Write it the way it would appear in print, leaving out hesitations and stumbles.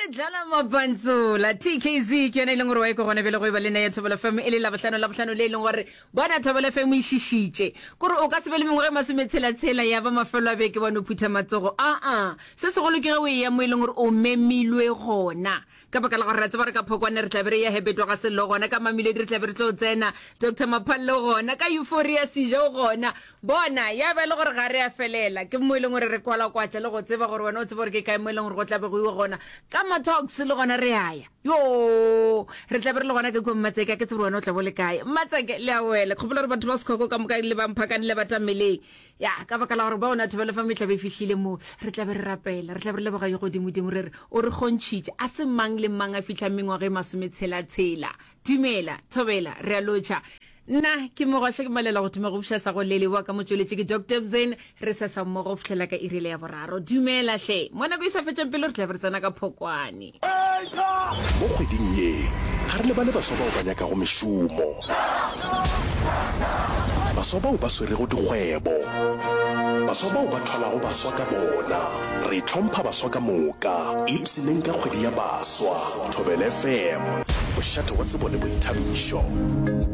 re dlala mapantsola TKZ ke yona e leng gore wa e ko gona bjale go e ba le nna ya Thobela FM e le labohlano labohlano le e leng gore bona Thobela FM e šišitše kore o ka se be le mengwaga e masometshela-tshela ya ba mafelo a beke wa no phutha matsogo aa se segolo ke ge o eya mo e leng gore o memilwe gona Ka baka la gore re a tseba gore ka Phokwane re tla be re eya Hebetwa ga Sello gona, ka Mamelodi re tla be re tlo tsena, Doctor Maphalle o gona, ka Euphoria Seja o gona. Bona, ya ba e le gore ga re a felela. Ke mo e leng gore re kwalakwatša le go tseba gore wena o tsebe gore ke kae mo e leng gore go tla be go iwa gona. Ka ma-talks le gona re a ya. Yoo! Re tla be re le gona ka kua Mmatseke, ga ke tsebe gore wena o tla be o le kae. Mmatseke, le a wela. Ke gopola gore batho ba Sekhoko ka moka le ba Mphakane le ba Tameleng. Ya, ka baka la gore bona Thobela FM e tla be e fihlile mo, re tla be re rapela, re tla be re leboga yo godimodimo re re o re kgontšhitše. A se mang le mang a fihlang mengwaga e masometshela-tshela. Dumela, Thobela, re a lotšha. Nna ke Mogwaša ke malela go thoma go buša sa go lele wa ka motšweletši ke Doctor Bzen, re sesa mmogo go fihlela ka iri le ya boraro. Dumela hle. Mo nako e sa fetšeng pelo re tla be re tsena ka Phokwane. Mo kgweding ye, ga re lebale baswa bao ba nyakago mešomo, baswa bao ba swerego dikgwebo, baswa bao ba thwalago baswa ka bona. Re hlompha baswa ka moka. Ipshineng ka kgwedi ya baswa. Thobela FM, mošate wa tsebo le boithabišo.